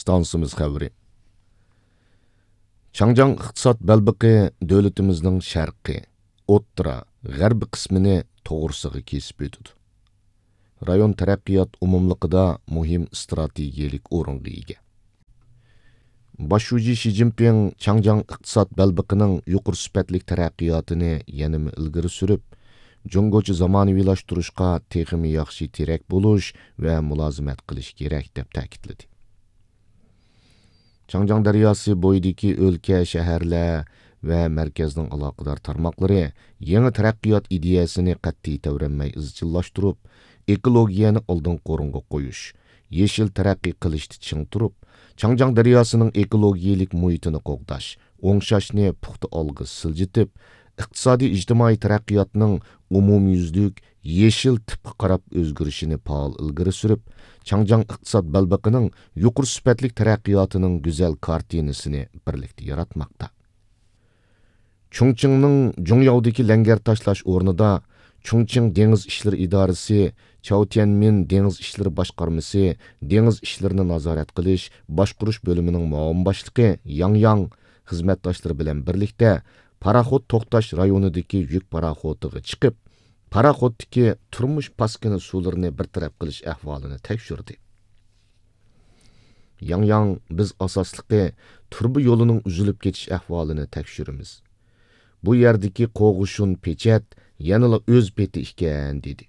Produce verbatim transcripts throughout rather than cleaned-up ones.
ئىستانسىمىز خەۋىرى. چاڭجياڭ ئىقتىساد بەلبېقى دۆلىتىمىزنىڭ شەرقىي، ئوتتۇرا، غەربىي قىسمىنى توغرىسىغا كېسىپ ئۆتىدۇ. رايون تەرەققىيات ئومۇملۇقىدا مۇھىم ئىستراتېگىيەلىك ئورۇنغا ئىگە. باش شۇجى شى جىنپىڭ چاڭجياڭ ئىقتىساد بەلبېقىنىڭ يۇقىرى سۈپەتلىك تەرەققىياتىنى يەنىمۇ ئىلگىرى سۈرۈپ، جۇڭگوچە زامانىۋىلاشتۇرۇشقا تېخىمۇ ياخشى تىرەك بولۇش ۋە مۇلازىمەت قىلىش كېرەك، دەپ تەكىتلىدى. چاڭجياڭ دەرياسى بويىدىكى ئۆلكە، شەھەرلەر ۋە مەركەزنىڭ ئالاقىدار تارماقلىرى يېڭى تەرەققىيات ئىدىيەسىنى قەتئىي تەۋرەنمەي ئىزچىللاشتۇرۇپ، ئېكولوگىيەنى ئالدىنقى ئورۇنغا قويۇش، يېشىل تەرەققىي قىلىشتا چىڭ تۇرۇپ، چاڭجياڭ دەرياسىنىڭ ئېكولوگىيەلىك مۇھىتىنى قوغداش، ئوڭشاشنى پۇختا ئالغا سىلجىتىپ، ئىقتىسادىي ئىجتىمائىي تەرەققىياتنىڭ ئومۇميۈزلۈك يېشىل تىپقا قاراپ ئۆزگىرىشىنى پائال ئىلگىرى سۈرۈپ، چاڭجياڭ ئىقتىساد بەلبېقىنىڭ يۇقىرى سۈپەتلىك تەرەققىياتىنىڭ گۈزەل كارتىنىسىنى بىرلىكتە ياراتماقتا. چۇڭچىڭنىڭ جۇڭياۋدىكى لەڭگەر تاشلاش ئورنىدا چۇڭچىڭ دېڭىز ئىشلىرى ئىدارىسى، چاۋتيەنمىن دېڭىز ئىشلىرى باشقارمىسى دېڭىز ئىشلىرىنى نازارەت قىلىش، باشقۇرۇش بۆلۈمىنىڭ مۇئاۋىن باشلىقى ياڭ ياڭ خىزمەتداشلىرى بىلەن بىرلىكتە پاراخوت توختاش رايونىدىكى يۈك پاراخوتىغا چىقىپ، پاراخوتتىكى تۇرمۇش پاسكىنا سۇلىرىنى بىر تەرەپ قىلىش ئەھۋالىنى تەكشۈردى. ياڭ ياڭ، بىز ئاساسلىقى تۇرۇبا يولىنىڭ ئۈزۈلۈپ كېتىش ئەھۋالىنى تەكشۈرىمىز. بۇ يەردىكى قوغۇشۇن پېچەت يەنىلا ئۆز پېتى ئىكەن، دېدى.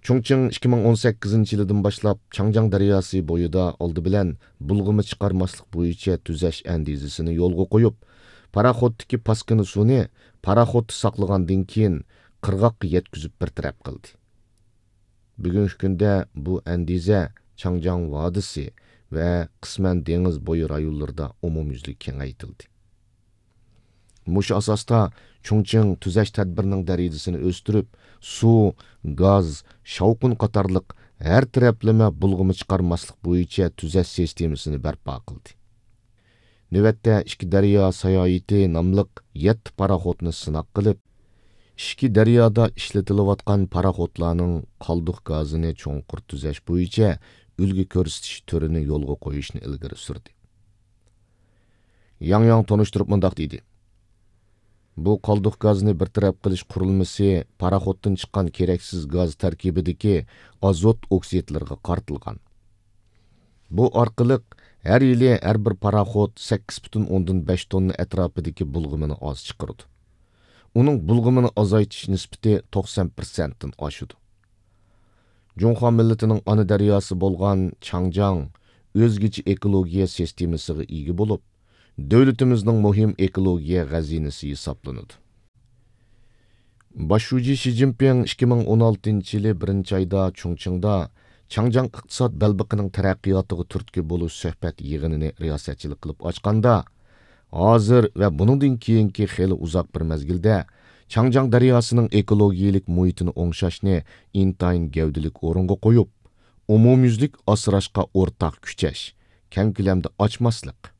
چۇڭچىڭ ئىككى مىڭ ئون سەككىزىنچى يىلىدىن باشلاپ چاڭجياڭ دەرياسى بويىدا ئالدى بىلەن بۇلغىما چىقارماسلىق بويىچە تۈزەش ئەندىزىسىنى يولغا قويۇپ، پاراخوتتىكى پاسكىنا سۇنى پاراخوتتا ساقلىغاندىن كېيىن قىرغاققا يەتكۈزۈپ بىر تەرەپ قىلدى. بۈگۈنكى كۈندە بۇ ئەندىزە چاڭجياڭ ۋادىسى ۋە قىسمەن دېڭىز بويى رايونلىرىدا ئومۇميۈزلۈك كېڭەيتىلدى. مۇشۇ ئاساستا چۇڭچىڭ تۈزەش تەدبىرىنىڭ دەرىجىسىنى ئۆستۈرۈپ، سۇ، گاز، شاۋقۇن قاتارلىق ھەر تەرەپلىمە بۇلغىما چىقارماسلىق بويىچە تۈزەش سىستېمىسىنى بەرپا قىلدى. نۆۋەتتە ئىككى دەريا ساياھىتى ناملىق يەتتە پاراخوتنى سىناق قىلىپ، ئىككى دەريادا ئىشلىتىلىۋاتقان پاراخوتلارنىڭ قالدۇق گازىنى چوڭقۇر تۈزەش بويىچە ئۈلگە كۆرسىتىش تۈرىنى يولغا قويۇشنى ئىلگىرى سۈردى. ياڭ ياڭ تونۇشتۇرۇپ مۇنداق دېدى: بۇ قالدۇق گازنى بىر تەرەپ قىلىش قۇرۇلمىسى پاراخوتتىن چىققان كېرەكسىز گاز تەركىبىدىكى ئازوت ئوكسىدلىرىغا قارىتىلغان. بۇ ئارقىلىق ھەر يىلى ھەر بىر پاراخوت سەككىز پۈتۈن ئوندىن بەش توننا ئەتراپىدىكى بۇلغىمىنى ئاز چىقىرىدۇ. ئۇنىڭ بۇلغىمىنى ئازايتىش نىسبىتى توقسان پىرسەنتتىن ئاشىدۇ. جۇڭخۇا مىللىتىنىڭ ئانا دەرياسى بولغان چاڭجياڭ ئۆزگىچە ئېكولوگىيە سىستېمىسىغا ئىگە بولۇپ، دۆلىتىمىزنىڭ مۇھىم ئېكولوگىيە غەزىنىسى ھېسابلىنىدۇ. باش شۇجى شى جىنپىڭ ئىككى مىڭ ئون ئالتىنچى يىلى بىرىنچى ئايدا چۇڭچىڭدا چاڭجياڭ ئىقتىساد بەلبېقىنىڭ تەرەققىياتىغا تۈرتكە بولۇش سۆھبەت يىغىنىنى رىياسەتچىلىك قىلىپ ئاچقاندا، ھازىر ۋە بۇنىڭدىن كېيىنكى خېلى ئۇزاق بىر مەزگىلدە چاڭجياڭ دەرياسىنىڭ ئېكولوگىيەلىك مۇھىتىنى ئوڭشاشنى ئىنتايىن گەۋدىلىك ئورۇنغا قويۇپ، ئومۇميۈزلۈك ئاسراشقا ئورتاق كۈچەش، كەڭ كۆلەمدە ئاچماسلىق،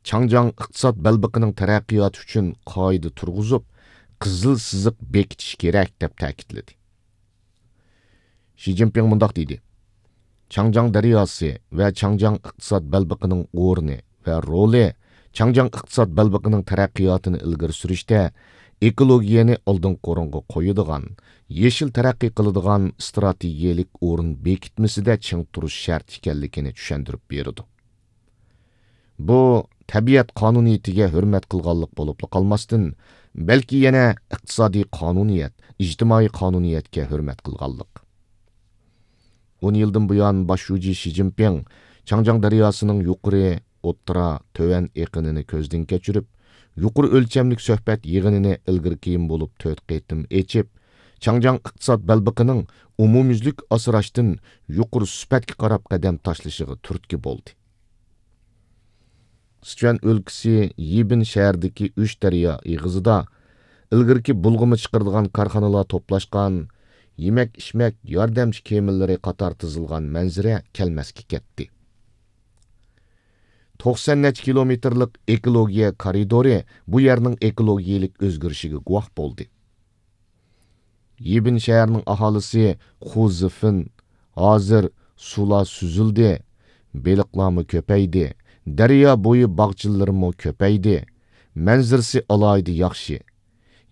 چاڭجياڭ ئىقتىساد بەلبېقىنىڭ تەرەققىياتى ئۈچۈن قائىدە تۇرغۇزۇپ، قىزىل سىزىق بېكىتىش كېرەك، دەپ تەكىتلىدى. شى جىنپىڭ مۇنداق دېدى: چاڭجياڭ دەرياسى ۋە چاڭجياڭ ئىقتىساد بەلبېقىنىڭ ئورنى ۋە رولى چاڭجياڭ ئىقتىساد بەلبېقىنىڭ تەرەققىياتىنى ئىلگىرى سۈرۈشتە ئېكولوگىيەنى ئالدىنقى ئورۇنغا قويىدىغان، يېشىل تەرەققىي قىلىدىغان ئىستراتېگىيەلىك ئورۇن بېكىتمىسىدە چىڭ تۇرۇش شەرت ئىكەنلىكىنى چۈشەندۈرۈپ بېرىدۇ. بۇ تەبىئەت قانۇنىيىتىگە ھۆرمەت قىلغانلىق بولۇپلا قالماستىن، بەلكى يەنە ئىقتىسادىي قانۇنىيەت، ئىجتىمائىي قانۇنىيەتكە ھۆرمەت قىلغانلىق. ئون يىلدىن بۇيان باش شۇجى شى جىنپىڭ چاڭجياڭ دەرياسىنىڭ يۇقىرى، ئوتتۇرا، تۆۋەن ئېقىنىنى كۆزدىن كەچۈرۈپ، يۇقىرى ئۆلچەملىك سۆھبەت يىغىنىنى ئىلگىرى كېيىن بولۇپ تۆت قېتىم ئېچىپ، چاڭجياڭ ئىقتىساد بەلبېقىنىڭ ئومۇميۈزلۈك ئاسراشتىن يۇقىرى سۈپەتكە قاراپ قەدەم تاشلىشىغا تۈرتكە بولدى. سىچۈەن ئۆلكىسى يىبىن شەھىرىدىكى ئۈچ دەريا ئېغىزىدا ئىلگىرىكى بۇلغىما چىقىرىدىغان كارخانىلار توپلاشقان يېمەك-ئىچمەك ياردەمچى كېمىلىرى قاتار تىزىلغان مەنزىرە كەلمەسكە كەتتى. توقسان نەچچە كىلومېتىرلىق ئېكولوگىيە كارىدورى بۇ يەرنىڭ ئېكولوگىيەلىك ئۆزگىرىشىگە گۇۋاھ بولدى. يىبىن شەھىرىنىڭ ئاھالىسى خۇ زىفېن ھازىر سۇلار سۈزۈلدى، بېلىقلارمۇ كۆپەيدى، دەريا بويى باغچىلىرىمۇ كۆپەيدى، مەنزىرىسى ئالاھىدە ياخشى.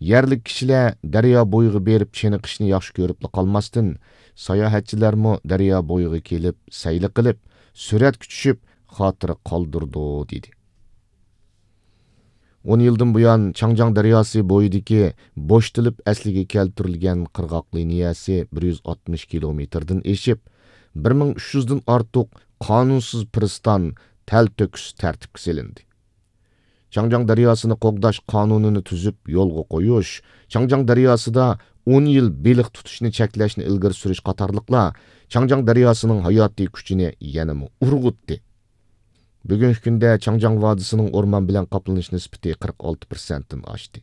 يەرلىك كىشىلەر دەريا بويىغا بېرىپ چېنىقىشنى ياخشى كۆرۈپلا قالماستىن، ساياھەتچىلەرمۇ دەريا بويىغا كېلىپ، سەيلە قىلىپ، سۈرەتكە چۈشۈپ، خاتىرە قالدۇرىدۇ، دېدى. ئون يىلدىن بۇيان، چاڭجياڭ دەرياسى بويىدىكى بوشىتىلىپ ئەسلىگە كەلتۈرۈلگەن قىرغاق لىنىيەسى بىر يۈز ئاتمىش كىلومېتىردىن ئېشىپ، بىر مىڭ ئۈچ يۈزدىن ئارتۇق قانۇنسىز پىرىستان، تەلتۆكۈس تەرتىپكە سېلىندى. چاڭجياڭ دەرياسىنى قوغداش قانۇنىنى تۈزۈپ يولغا قويۇش، چاڭجياڭ دەرياسىدا ئون يىل بېلىق تۇتۇشنى چەكلەشنى ئىلگىرى سۈرۈش قاتارلىقلار چاڭجياڭ دەرياسىنىڭ ھاياتىي كۈچىنى يەنىمۇ ئۇرغۇتتى. بۈگۈنكى كۈندە چاڭجياڭ ۋادىسىنىڭ ئورمان بىلەن قاپلىنىش نىسبىتى قىرىق ئالتە پىرسەنتتىن ئاشتى.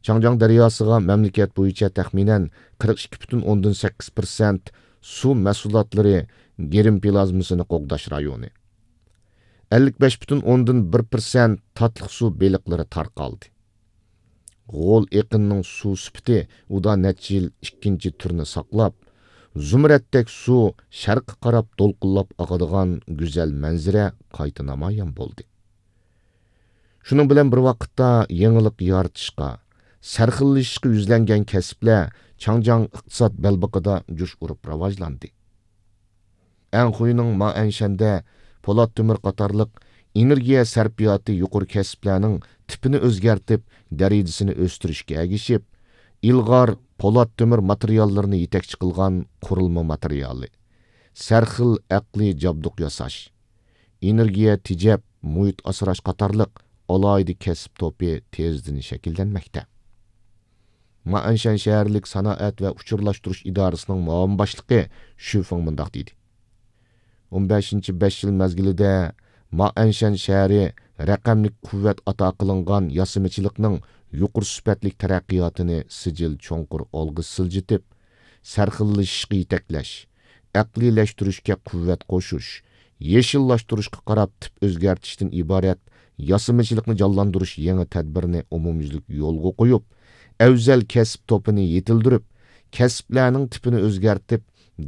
چاڭجياڭ دەرياسىغا مەملىكەت بويىچە تەخمىنەن قىرىق ئىككى پۈتۈن ئوندىن سەككىز پىرسەنت سۇ مەھسۇلاتلىرى، گىرىم پلازمىسىنى قوغداش رايونى، ئەللىك بەش پۈتۈن ئوندىن بىر پىرسەنت تاتلىق سۇ بېلىقلىرى تارقالدى. غول ئېقىنىنىڭ سۇ سۈپىتى ئۇدا نەچچە يىل ئىككىنچى تۈرنى ساقلاپ، زۇمرەتتەك سۇ شەرققە قاراپ دولقۇنلاپ ئاقىدىغان گۈزەل مەنزىرە قايتا نامايان بولدى. شۇنىڭ بىلەن بىر ۋاقىتتا، يېڭىلىق يارىتىشقا، سەرخىللىشىشقا يۈزلەنگەن كەسىپلەر چاڭجياڭ ئىقتىساد بەلبېقىدا جۇش ئۇرۇپ راۋاجلاندى. ئەنخۇينىڭ مائەنشەندە پولات تۆمۈر قاتارلىق ئېنېرگىيە سەرپىياتى يۇقىرى كەسىپلەرنىڭ تىپىنى ئۆزگەرتىپ، دەرىجىسىنى ئۆستۈرۈشكە ئەگىشىپ، ئىلغار پولات تۆمۈر ماتېرىياللىرىنى يېتەكچى قىلغان قۇرۇلما ماتېرىيالى، سەرخىل ئەقلىي جابدۇق ياساش، ئېنېرگىيە تېجەپ، مۇھىت ئاسراش قاتارلىق ئالاھىدە كەسىپ توپى تېزدىن شەكىللەنمەكتە. مائەنشەن شەھەرلىك سانائەت ۋە ئۇچۇرلاشتۇرۇش ئىدارىسىنىڭ مۇئاۋىن باشلىقى شۈ فېڭ مۇنداق دېدى: ئون بەشىنچى بەش يىل مەزگىلىدە مائەنشەن شەھىرى رەقەملىك قۇۋۋەت ئاتا قىلىنغان ياسىمىچىلىقنىڭ يۇقىرى سۈپەتلىك تەرەققىياتىنى سىجىل چوڭقۇر ئالغا سىلجىتىپ، سەرخىللىشىشقا يېتەكلەش، ئەقلىيلەشتۈرۈشكە قۇۋۋەت قوشۇش، يېشىللاشتۇرۇشقا قاراپ تىپ ئۆزگەرتىشتىن ئىبارەت ياسىمىچىلىقنى جانلاندۇرۇش يېڭى تەدبىرىنى ئومۇميۈزلۈك يولغا قويۇپ، ئەۋزەل كەسىپ توپىنى يېتىلدۈرۈپ، كەسىپلەرنىڭ تىپىنى ئۆزگەرتىپ،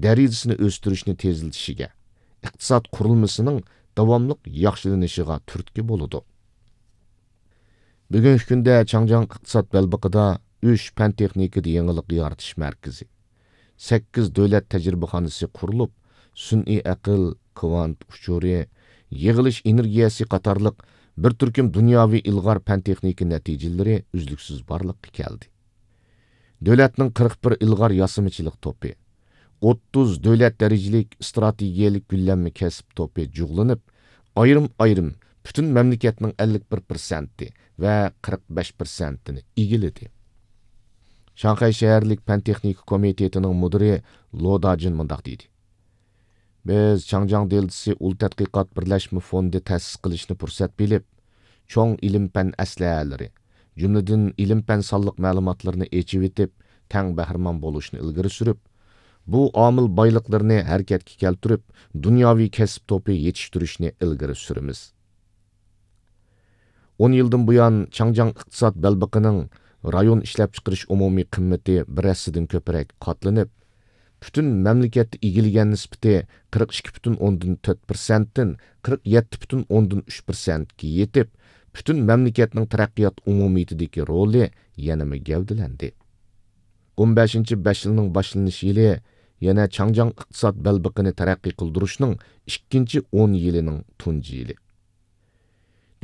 دەرىجىسىنى ئۆستۈرۈشنى تېزلىتىشىگە، ئىقتىساد قۇرۇلمىسىنىڭ داۋاملىق ياخشىلىنىشىغا تۈرتكە بولىدۇ. بۈگۈنكى كۈندە چاڭجياڭ ئىقتىساد بەلبېقىدا ئۈچ پەن تېخنىكىدا يېڭىلىق يارىتىش مەركىزى، سەككىز دۆلەت تەجرىبىخانىسى قۇرۇلۇپ، سۈنئىي ئەقىل، كۋانت ئۇچۇرى، يىغىلىش ئېنېرگىيەسى قاتارلىق بىر تۈركۈم دۇنياۋى ئىلغار پەن تېخنىكا نەتىجىلىرى ئۈزلۈكسىز بارلىققا كەلدى. دۆلەتنىڭ قىرىق بىر ئىلغار ياسىمىچىلىق توپى، ئوتتۇز دۆلەت دەرىجىلىك ئىستراتېگىيەلىك گۈللەنمە كەسىپ توپى جۇغلىنىپ، ئايرىم-ئايرىم پۈتۈن مەملىكەتنىڭ ئەللىك بىر پىرسەنتى ۋە قىرىق بەش پىرسەنتىنى ئىگىلىدى. شاڭخەي شەھەرلىك پەن تېخنىكا كومىتېتىنىڭ مۇدىرى لو داجىن مۇنداق دېدى: بىز چاڭجياڭ دېلتىسى ئۇل تەتقىقات بىرلەشمە فوندى تەسىس قىلىشنى پۇرسەت بىلىپ، چوڭ ئىلىم-پەن ئەسلىھەلىرى، جۈملىدىن ئىلىم-پەن سانلىق مەلۇماتلىرىنى ئېچىۋېتىپ، تەڭ بەھرىمەن بولۇشنى ئىلگىرى سۈرۈپ، بۇ ئامىل بايلىقلىرىنى ھەرىكەتكە كەلتۈرۈپ، دۇنياۋى كەسىپ توپى يېتىشتۈرۈشنى ئىلگىرى سۈرىمىز. ئون يىلدىن بۇيان، چاڭجياڭ ئىقتىساد بەلبېقىنىڭ رايون ئىشلەپچىقىرىش ئومۇمىي قىممىتى بىر ھەسسىدىن كۆپرەك قاتلىنىپ، پۈتۈن مەملىكەتتە ئىگىلىگەن نىسبىتى قىرىق ئىككى پۈتۈن ئوندىن تۆت پىرسەنتتىن قىرىق يەتتە پۈتۈن ئوندىن ئۈچ پىرسەنتكە يېتىپ، پۈتۈن مەملىكەتنىڭ تەرەققىيات ئومۇمىيىتىدىكى رولى يەنىمۇ گەۋدىلەندى. ئون بەشىنچى بەش يىلنىڭ باشلىنىش يىلى يەنە چاڭجياڭ ئىقتىساد بەلبېقىنى تەرەققىي قىلدۇرۇشنىڭ ئىككىنچى ئون يىلىنىڭ تۇنجى يىلى.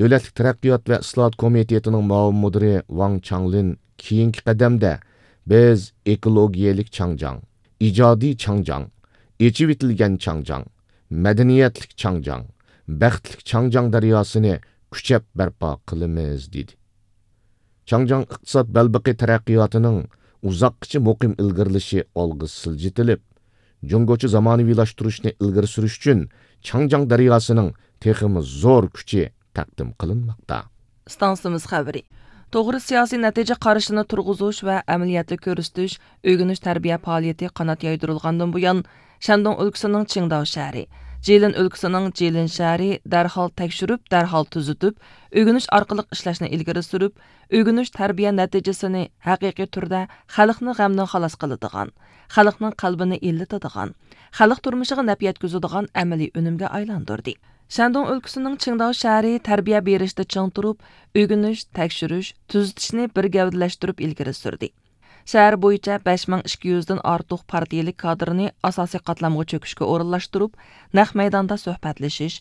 دۆلەتلىك تەرەققىيات ۋە ئىسلاھات كومىتېتىنىڭ مۇئاۋىن مۇدىرى ۋاڭ چاڭلىن كېيىنكى قەدەمدە بىز ئېكولوگىيەلىك چاڭجياڭ، ئىجادىي چاڭجياڭ، ئېچىۋېتىلگەن چاڭجياڭ، مەدەنىيەتلىك چاڭجياڭ، بەختلىك چاڭجياڭ دەرياسىنى كۈچەپ بەرپا قىلىمىز، دېدى. چاڭجياڭ ئىقتىساد بەلبېقى تەرەققىياتىنىڭ ئۇزاققىچە مۇقىم ئىلگىرىلىشى ئالغا سىلجىتىلىپ، جۇڭگوچە زامانىۋىلاشتۇرۇشنى ئىلگىرى سۈرۈش ئۈچۈن چاڭجياڭ دەرياسىنىڭ تېخىمۇ زور كۈچى تەقدىم قىلىنماقتا. ئىستانسىمىز خەۋىرى. توغرا سىياسىي نەتىجە قارىشىنى تۇرغۇزۇش ۋە ئەمەلىيەتتە كۆرسىتىش، ئۆگىنىش تەربىيە پائالىيىتى قانات يايدۇرۇلغاندىن بۇيان، شەندۇڭ ئۆلكىسىنىڭ چىڭداۋ شەھىرى، جىلىن ئۆلكىسىنىڭ جىلىن شەھىرى دەرھال تەكشۈرۈپ، دەرھال تۈزىتىپ، ئۆگىنىش ئارقىلىق ئىشلەشنى ئىلگىرى سۈرۈپ، ئۆگىنىش تەربىيە نەتىجىسىنى ھەقىقىي تۈردە خەلقنى غەمدىن خالاس قىلىدىغان، خەلقنىڭ قەلبىنى ئىللىتىدىغان، خەلق تۇرمۇشىغا نەپ يەتكۈزىدىغان ئەمەلىي ئۈنۈمگە ئايلاندۇردى. شەندۇڭ ئۆلكىسىنىڭ چىڭداۋ شەھىرى تەربىيە بېرىشتە چىڭ تۇرۇپ، ئۆگىنىش، تەكشۈرۈش، تۈزىتىشنى بىر گەۋدىلەشتۈرۈپ ئىلگىرى سۈردى. شەھەر بويىچە بەش مىڭ ئىككى يۈزدىن ئارتۇق پارتىيىلىك كادىرنى ئاساسىي قاتلامغا چۆكۈشكە ئورۇنلاشتۇرۇپ، نەق مەيداندا سۆھبەتلىشىش،